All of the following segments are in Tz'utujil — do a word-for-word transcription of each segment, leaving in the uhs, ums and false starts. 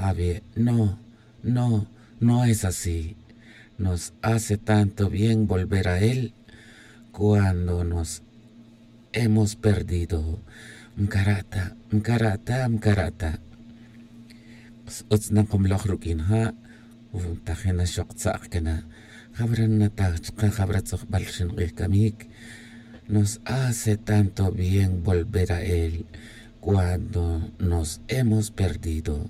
Avi, no, no, no es así. Nos hace tanto bien volver a él cuando nos hemos perdido. Mkarata, mkarata, mkarata. Utz nakomloj ruq'uin ja'. Tajin naxok tza'k cana. Jabra nataj chka jabra tzojbal rxin k'ij camic. Nos hace tanto bien volver a él cuando nos hemos perdido.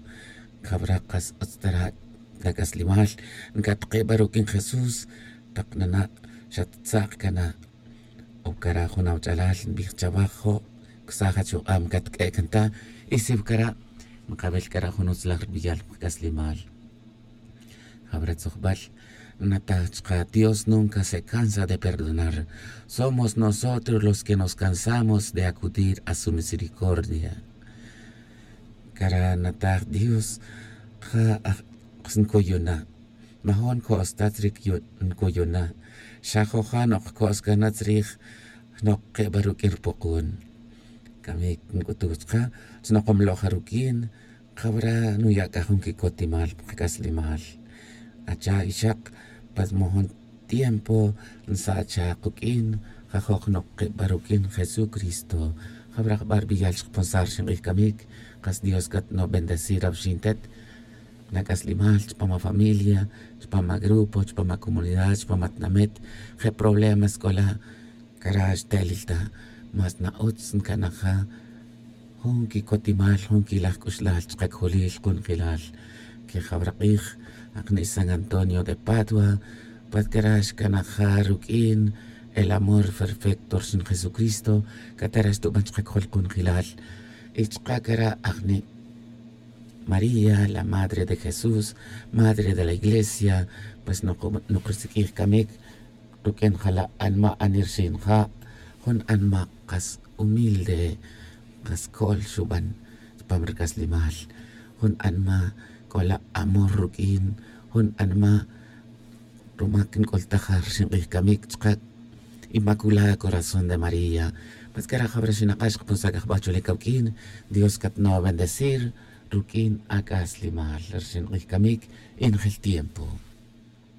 Jabra kas utz tara' ta c'aslimal. Ncatk'e' ba ruq'uin jesús. Tak nana' xattza'k cana. O cara' jun awach'alal nbij chawaj jo'. Cusaj achuk'ab catq'ue' can ta. Y si wa cara' nkawil cara' jun utzlaj rbiyal pa kac'aslimal. Jabra tzojbal. Nataj chka dios nunca se cansa de perdonar. Somos nosotros los que nos cansamos de acudir a su misericordia. Cara' nataj dios ja' aj nkuyuna'. Majun co'os ta tzric nkuyuna'. Xa joja' nok co'os cana tzrij. Jnok keba ruq'uin rpukun. Camic nc'utuj chka. Chnokomloj ja ruq'uin. Jabra nuya' c'a jun quicotimal pa kac'aslimal. Acha' ixak. Pas majun tiempo nsacha kuq'uin. Jajok jnok keba ruq'uin jesucristo. Jabra jba rbiyal chkaponsar rxin k'ij camic. Kas dios catno' bendecir awxintet. Nac'aslimal chpam afamilia, chpam agrupo chpam acomunidad chpam atnamet. Je' problemas c'ola. Cara' xtelil ta. Mas na'utz ncanaja. Jun quicotimal jun quilaj c'uxlal chkacjulil kunjelal. Quejawrak'ij. Akni' san antonio de padua. Pat cara' xcanaja ruq'uin. El amor perfecto rxin jesucristo. Catara' xtuban chkacjul kunjelal. Y chka' cara' akni' maría la madre de jesús, madre de la iglesia. Pues nok risiq'uij camic. Ruq'uin jala' anma' anirxin ja'. Jun anma' kas humilde. Kas co'l xuban chpam rc'aslimal. Jun anma' c'ola' amor ruq'uin. Jun anma' ruma nc'ultaj ja rxin k'ij camic chka'. Inmaculada corazón de maría. Mas cara' jabra xinak'ax kapunsac ajba chule cawq'uin. Dios catno' bendecir ruq'uin ac'aslimal rxin k'ij camic. Injel tiempo.